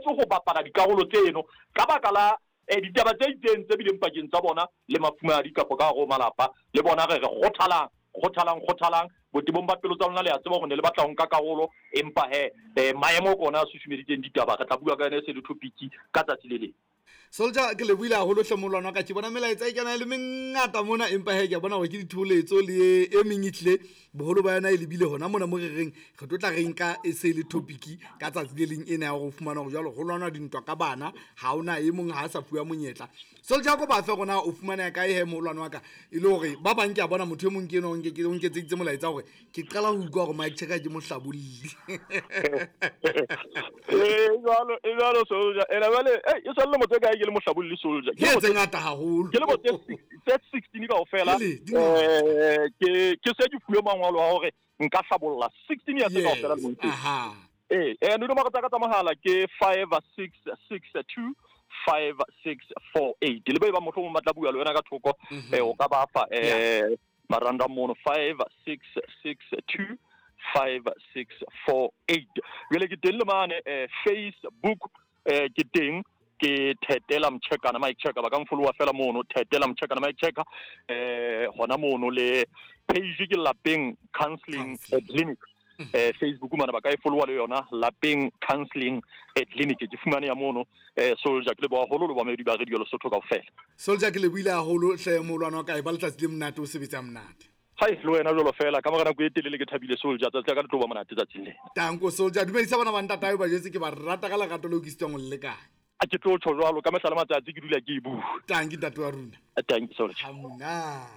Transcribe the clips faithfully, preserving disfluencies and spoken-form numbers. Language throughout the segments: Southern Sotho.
thibetswe ho bapala dikarolo tseno ka baka la eh ditaba tse itseng tse bileng pakeng tsa bona le mafumahadi kapa ka hare ho malapa. Le bona re re kgothalang, kgothalang, kgothalang botebong ba pelo tsa lona, le a tseba hore ne le batla ho nka karolo, empa he eh, maemo ke ona a susumeditseng ditaba. Re tla bua ka yona e se le topic ka tsatsi le leng. Soldier, ke lebohile haholo hle molwana wa ka. Ke bona melaetsa e kena e le mengata mona, empa he ke a bona hore ke ditholetso le e meng e tlile boholo ba yona e lebile hona mona mo re reng re tlo tla re nka e se le topic ka tsatsi le leng ena ya hore o fumana hore jwale ho lwanwa dintwa ka bana, ha hona e mong ha a sa fuwa monyetla. Soldier, ko ba fe rona o fumaneha kae he molwana wa ka, e le hore ba bang ke a bona motho e mong ke enwa o nke- o nketseditse molaetsa hore ke qala ho utlwa hore Mike Checker ke mohlabolli. Eh, jwalo, e jwalo Soldier. Ena jwale, eh, e sa le lemo tse kae ke le mohlabolli Soldier? Ke tse ngata haholo. Ke lemo tse six- tse sixteen kaofela. Ele, di ngata. Eh, ke ke se ke fuwe mangolo a hore nka hlabolla sixteen years Yes, kaofela lemong tseo. aha. Eh, eh dinomoro tsa ka tsa mohala ke five six six two five six four eight. Le ba e bang mohlomong ba tla bua le wena ka thoko, eh, o ka ba fa, eh, maranda mono five six six two five six four eight. Jwale ke teng le mane, eh, Facebook, eh, ke teng ke Thetela Mtjhekana Mike Checker, ba ka nfollowa fela mono Thetela Mtjhekana Mike Checker, eh, hona mono le page ke Lapeng Counseling Counseling. Clinic. Eh, Facebook mana ba ka e followa le yona Lapeng Counseling Clinic, ke fumane ya mono. Eh, Soldier, ke leboha haholo le bamamedi ba Radio Lesotho kaofela. Soldier, ke lebohile haholo hle molwana wa ka, e ba letsatsi le monate, o sebetsa monate. Hai, le wena jwalo fela, ka mora nako e telele ke thabile Soldier, tsatsi la ka le tlo ba monate tsatsing lena. Tanko Soldier, dumedisa bana ba ntatae ba jwetse ke ba rata ka lerato leo ke sitwang ho le lekanya. A ke tlo tjho jwalo, ka mehla le matsatsi ke dula ke e bua. Tanki ntate wa rona. Tanki Soldier. Ha monate.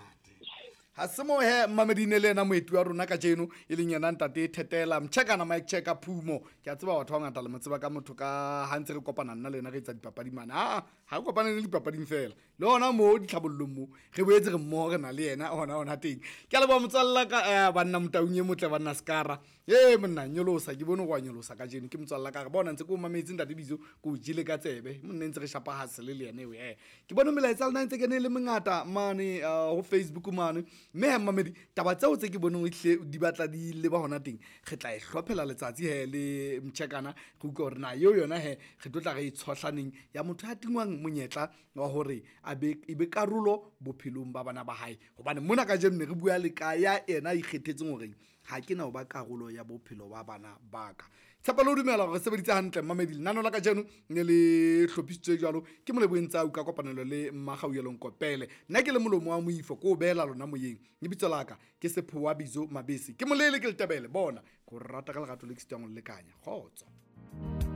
Ha se mo he mmamedine le ena moeti wa rona kajeno e leng yena ntate Thetela Mtjhekana Mike Checker Phumo. Ke a tseba batho ba bangata le mo tseba ka motho ka ha ntse re kopana nna le yena re etsa dipapadi mane. Ah, ha re kopane le dipapading fela. Le hona moo ditlhabollong moo re boetse re mmoho re na le yena hona hona teng. Ke a leboha motswalla ka, eh, banna Motaung e motle banna Skara. Eh, monna nyolosa, ke bone go a nyolosa kajeno ke motswalla ka re bona ntse ke o mametse ntate Bizo ke o jele ka tsebe. Monna ntse re shapa hustle le yena eo, eh. Ke bone melaetsa lena ntse kene le mengata mane, eh, ho Facebook mane. Mme he mmamedi, taba tseo tse ke boneng ehlile di batla di leba hona teng, re tla e hlophela letsatsi he le Mtjhekana, re utlwe hore na eo yona he re tlo tla re e tshohlaneng ya motho ya tingwang monyetla wa hore a be, e be karolo bophelong ba bana ba hae. Hobane mona kajeno ne re bua le ka ya yena a ikgethetseng hore ha ke na ho ba karolo ya bophelo ba bana ba ka. Tshepo le ho dumela hore re sebeditse hantle mmamedi. Lenaneo la kajeno ne le hlophisitswe jwalo ke Moleboheng Tsau ka kopanelo le Mmakgauelong Kopele. Nna ke le molomo wa moifo, ke o beela lona moyeng. Lebitso la ka ke Sephowa Bizo Mabese. Ke molele ke letebele, bona ke o rata ka lerato le ke sitwang ho le lekanya. Kgotso.